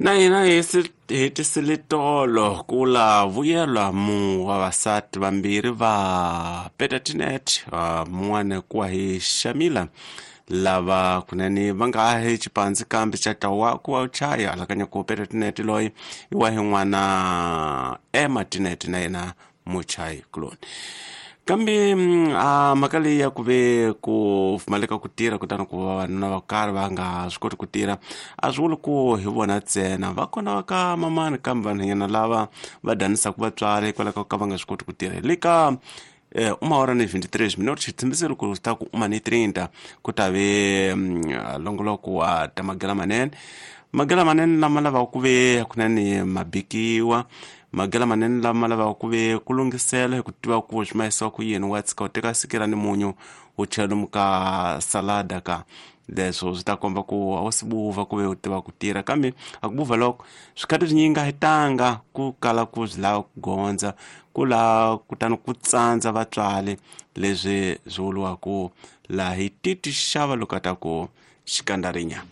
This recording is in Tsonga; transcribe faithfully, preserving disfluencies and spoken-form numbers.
Na hina hi hetisile tolo ku la vuyelwa mu vavasati vambirhi va Peter Tinet, mun'wana ku wa hi Shamila, lava kunene va nga hi xipandzi kambe xa tawa ku wa chaya alakanya ku Peter Tinet loyi i wa hi n'wana Emma Tinet na yena muchayi kuloni. Kambe a mhaka leyi ya ku ve ku pfumaleka ku tirha kutani ku vavanuna va karhi va nga swi koti ku tirha a swi vuli ku hi vona ntsena, va kona va ka mamani kambe vanhwanyana lava va danisaka vatswari hikwalaho ka va nga swi koti ku tirha. Le ka uma hora ni vinte e três minutos, xitshembiso ku ta ku uma ni trinta ku ta ve longoloko wa ta magela manene, magela manene lama lavaka ku ve kunene mabikiwa, magela manene lama lavaka ku ve ku lunghisela hi ku tiva ku swi mahisiwa ku yini. Wa tshika u teka sikira ni munyu u chela lomu ka salada ka leswo swi ta komba ku a wu si buva ku ve u tiva ku tirha, kambe a ku buva loko swikhati swinyingi a hi tanga ku kala ku swi lava ku gondza ku laha kutani ku tsandza vatswari, leswi swi vuriwaka laha hi titi xava loko a ta ku xikandarinya.